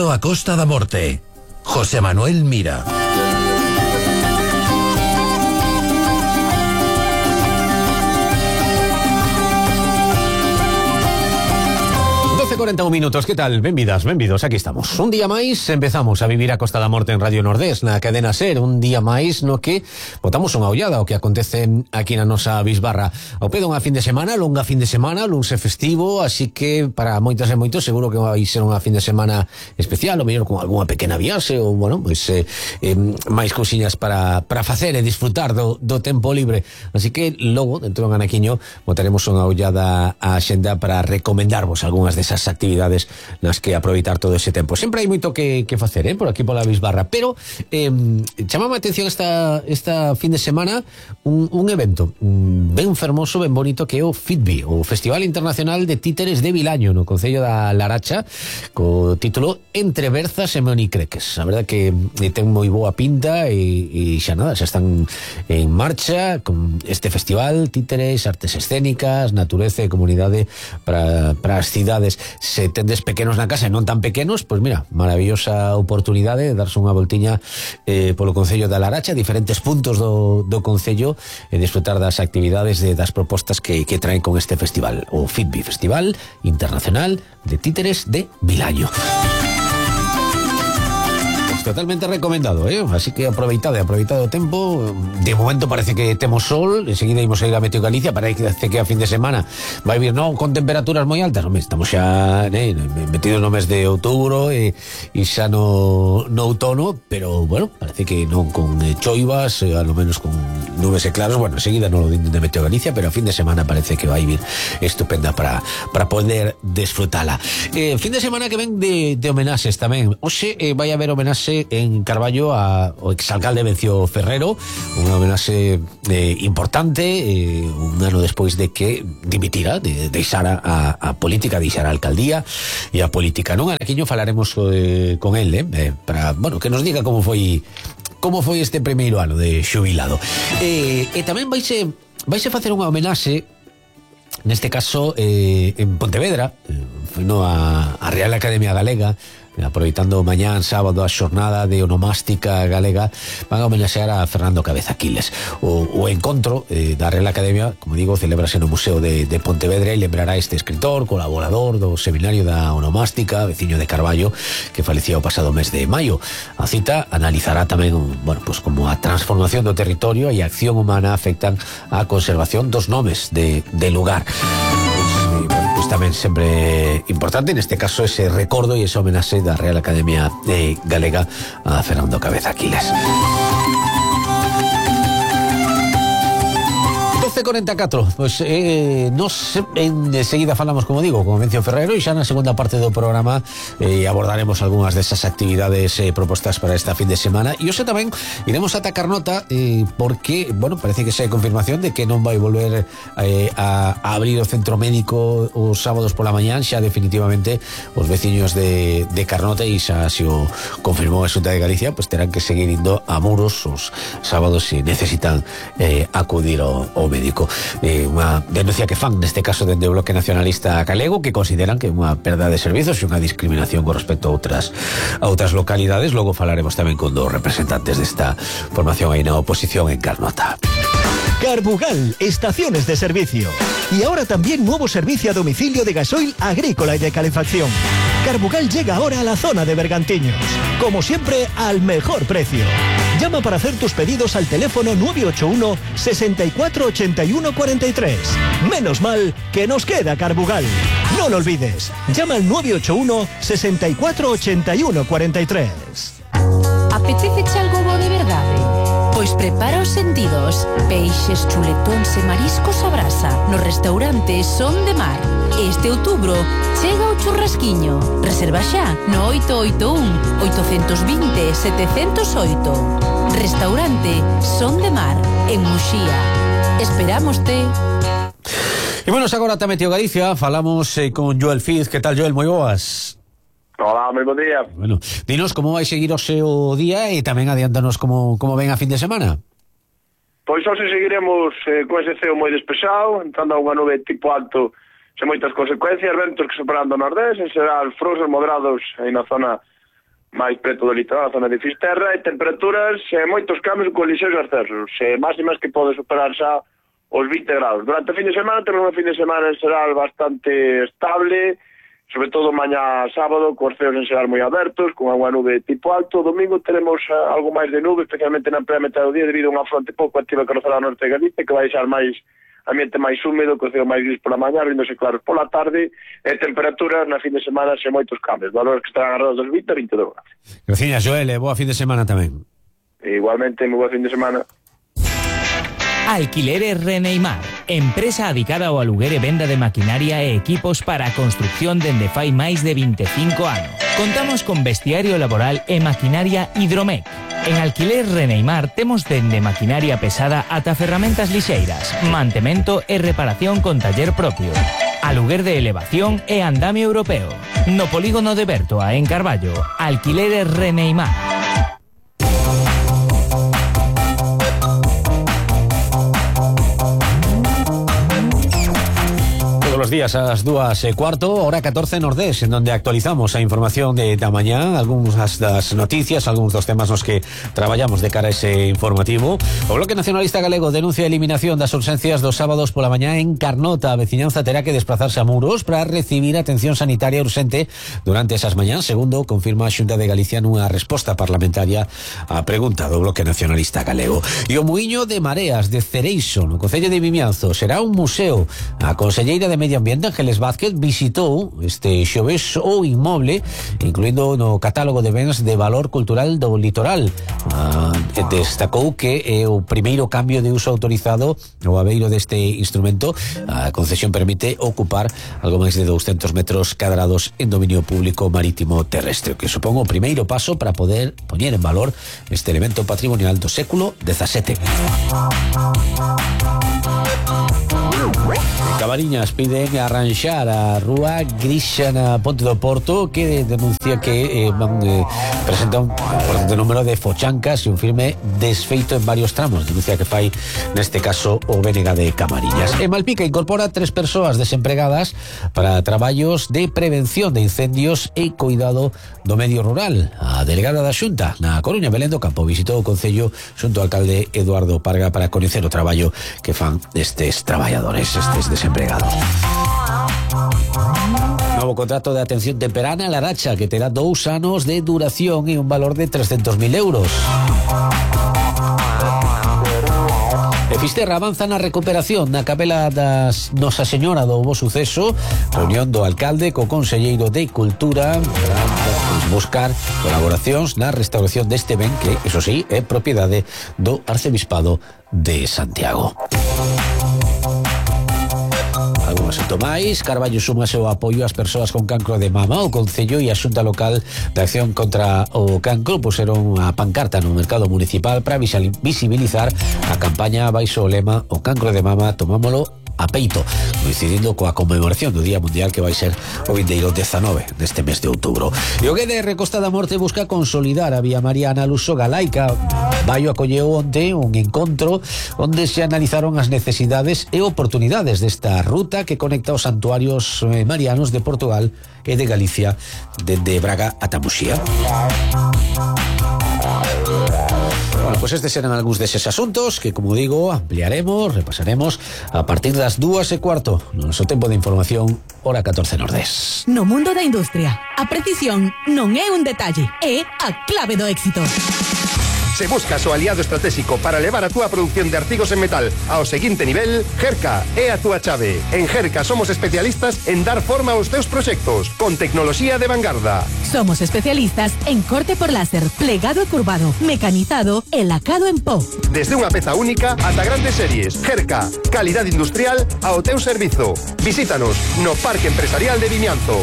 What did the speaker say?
Vivindo a Costa da Morte. José Manuel Mira. Hace 41 minutos, que tal? Benvidas, benvidos, aquí estamos. Un día máis empezamos a vivir a Costa da Morte en Radio Nordés, na cadena SER. Un día máis no que botamos unha ollada ao que acontece aquí na nosa bisbarra. Ao pedo unha fin de semana, longa fin de semana, luns e festivo, así que para moitas e moitos seguro que vai ser unha fin de semana especial, ou mellor con algunha pequena viaxe, ou, bueno, pois máis cousiñas para facer e disfrutar do tempo libre. Así que logo, dentro do anaquiño, botaremos unha ollada á xenda para recomendarvos algunhas desas actividades nas que aproveitar todo ese tempo. Sempre hai moito que facer, por aquí pola bisbarra, pero chamame a atención esta fin de semana un evento ben fermoso, ben bonito, que é o FITBI, o Festival Internacional de Títeres de Vilaño, no concello da Laracha, co título Entre Berzas e Monicreques. A verdade que ten moi boa pinta e xa nada, xa están en marcha con este festival, títeres, artes escénicas, natureza e comunidade para as cidades. Se tendes pequenos na casa e non tan pequenos, pois mira, maravillosa oportunidade de darse unha voltiña polo concello da Laracha, diferentes puntos do concello, e disfrutar das actividades, das propostas que traen con este festival, o FITBI, Festival Internacional de Títeres de Vilaño. Totalmente recomendado, así que aproveitado o tempo. De momento parece que temos sol, enseguida imos a ir a Meteo Galicia, parece que a fin de semana vai vir non con temperaturas moi altas, estamos xa metidos no mes de outubro e xa no outono, pero bueno, parece que non con choivas, a lo menos con nubes e claros. Bueno, enseguida non lo din de Meteo Galicia, pero a fin de semana parece que vai vir estupenda para poder desfrutala. Fin de semana que ven de homenaxes tamén. Hoxe vai haber homenaxe en Carballo ao exalcalde Vencio Ferrero, unha homenaxe importante, un ano despois de que dimitira, deixara a política, deixara a alcaldía e a política. Non anaquiño falaremos con el, para, bueno, que nos diga como foi este primeiro ano de xubilado. E tamén vaise facer unha homenaxe, neste caso en Pontevedra, foi a Real Academia Galega, aproveitando mañán sábado a xornada de onomástica galega, van a homenaxear a Fernando Cabeza Quiles. O encontro da Real Academia, como digo, celebrase no Museo de Pontevedra e lembrará este escritor, colaborador do Seminario da Onomástica, veciño de Carballo, que falecía o pasado mes de maio. A cita analizará tamén, bueno, pues como a transformación do territorio e a acción humana afectan a conservación dos nomes de lugar. Pues tamén sempre importante, neste caso, ese recordo e ese homenaxe da Real Academia Galega a Fernando Cabeza Quiles. 12:44, pues nos enseguida falamos, como digo, con Vencio Ferrero, e xa na segunda parte do programa abordaremos algunhas desas actividades propostas para esta fin de semana. E hoxe tamén iremos ata Carnota, porque, bueno, parece que xa hai confirmación de que non vai volver a abrir o centro médico os sábados pola mañán, xa definitivamente os veciños de Carnota, e xa se o confirmou a Xunta de Galicia, pues terán que seguir indo a Muros os sábados se necesitan acudir ao médico. Unha denuncia que fan neste caso dende o Bloque Nacionalista Galego, que consideran que é unha perda de servizos e unha discriminación con respecto a outras localidades. Logo falaremos tamén con dos representantes desta formación aí na oposición en Carnota. Carbugal, estaciones de servicio. Y ahora también nuevo servicio a domicilio de gasoil agrícola y de calefacción. Carbugal llega ahora a la zona de Bergantiños. Como siempre, al mejor precio. Llama para hacer tus pedidos al teléfono 981 64 81 43. Menos mal que nos queda Carbugal. No lo olvides. Llama al 981 64 81 43. Apetece algo bo de verdade? Pois prepara os sentidos. Peixes, chuletóns e mariscos a brasa no restaurante Son de Mar. Este outubro chega o churrasquiño. Reserva xa no 881 820 708. Restaurante Son de Mar en Muxía. Esperámoste. E bueno, agora tamén Meteo Galicia, falamos con Joel Fiz. Que tal, Joel? Moi boas. Hola, moi bo día. Bueno, dinos como vai seguir o seu día e tamén adiántanos como ven a fin de semana. Pois hoxe seguiremos con ese ceo moi despexado, entrando a unha nube tipo alto sen moitas consecuencias, ventos que superando o nordés, en xeral frouxos moderados aí na zona máis preto do litoral, a zona de Fisterra, e temperaturas moitos cambios con lixeiros ascensos, máximas que pode superar xa os 20 graus. Durante o fin de semana temos un fin de semana en xeral bastante estable, sobre todo mañá sábado, cos ceos en xeral moi abertos, con agua nube tipo alto. Domingo teremos algo máis de nube, especialmente na primeira metade do día, debido a unha fronte pouco activa que rozará ao norte de Galicia, que vai deixar máis ambiente máis húmedo, co ceo máis gris pola mañá, abriéndose claros pola tarde, e temperaturas na fin de semana sen moitos cambios, valores que estarán arredor dos 20 a 22 graus. Gracias, Joel, boa fin de semana tamén. Igualmente, moi boa fin de semana. Alquileres Reneimar, empresa adicada ao aluguer e venda de maquinaria e equipos para a construcción dende fai máis de 25 anos. Contamos con vestiario laboral e maquinaria Hidromec. En Alquileres Reneimar temos dende maquinaria pesada ata ferramentas lixeiras, mantemento e reparación con taller propio, aluguer de elevación e andamio europeo. No polígono de Bertoa, en Carballo, Alquileres Reneimar. Los días a las 2:15, hora 14 Nordés, en donde actualizamos a información de mañá, algunhas das noticias, algúns dos temas nos que traballamos de cara a ese informativo. O Bloque Nacionalista Galego denuncia a eliminación das ausencias dos sábados pola mañá en Carnota. A veciñanza terá que desplazarse a Muros para recibir atención sanitaria urxente durante esas mañás, segundo confirma a Xunta de Galicia nunha resposta parlamentaria á pregunta do Bloque Nacionalista Galego. E o Muiño de Mareas de Cereixo, no Concello de Vimianzo, será un museo. A conselleira de Medio Ambiente, Ángeles Vázquez, visitou este xoves o inmoble, incluindo no catálogo de bens de valor cultural do litoral. Destacou que é o primeiro cambio de uso autorizado ao abeiro deste instrumento. A concesión permite ocupar algo máis de 200 metros cadrados en dominio público marítimo terrestre, que supón o primeiro paso para poder poñer en valor este elemento patrimonial do século XVII. Cabariñas piden arranxar a rúa Grixa na Ponte do Porto, que denuncia que presenta un importante número de fochancas e un firme desfeito en varios tramos. Denuncia que fai neste caso o BNG de Camariñas. E Malpica incorpora 3 persoas desempregadas para traballos de prevención de incendios e cuidado do medio rural. A delegada da Xunta na Coruña, Belén do Campo, visitou o Concello xunto ao alcalde Eduardo Parga para coñecer o traballo que fan estes traballadores, estes desempregados. Novo contrato de atención temperana a Laracha, que terá 2 anos de duración e un valor de 300.000 euros. E Fisterra avanza na recuperación na capela das Nosa Señora do Bo Suceso. Reunión do alcalde co conselleiro de Cultura para buscar colaboracións na restauración deste ben que, eso sí, é propiedade do Arcebispado de Santiago. Algún asunto máis. Carballo suma o apoio ás persoas con cancro de mama. O Concello e a Xunta Local de Acción contra o Cancro puseron a pancarta no mercado municipal para visibilizar a campaña baixo o lema "O cancro de mama tomámolo a peito", coincidindo coa conmemoración do Día Mundial que vai ser o vindeiro 19 deste mes de outubro. E o GDR Costa da Morte busca consolidar a Vía Mariana Luso Galaica. Baio acolleu onte un encontro onde se analizaron as necesidades e oportunidades desta ruta que conecta os santuarios marianos de Portugal e de Galicia dende Braga ata Muxía. Bueno, pues estes eran algúns deses asuntos que, como digo, ampliaremos, repasaremos a partir das 2:15 no noso tempo de información, hora 14 Nordés. No mundo da industria, a precisión non é un detalle, é a clave do éxito. Se buscas o aliado estratégico para levar a túa produción de artigos en metal ao seguinte nivel, Gerca é a túa chave. En Gerca somos especialistas en dar forma aos teus proxectos, con tecnoloxía de vanguarda. Somos especialistas en corte por láser, plegado e curvado, mecanizado e lacado en pó. Desde unha peza única ata grandes series. Gerca, calidade industrial ao teu servizo. Visítanos no Parque Empresarial de Vimianzo.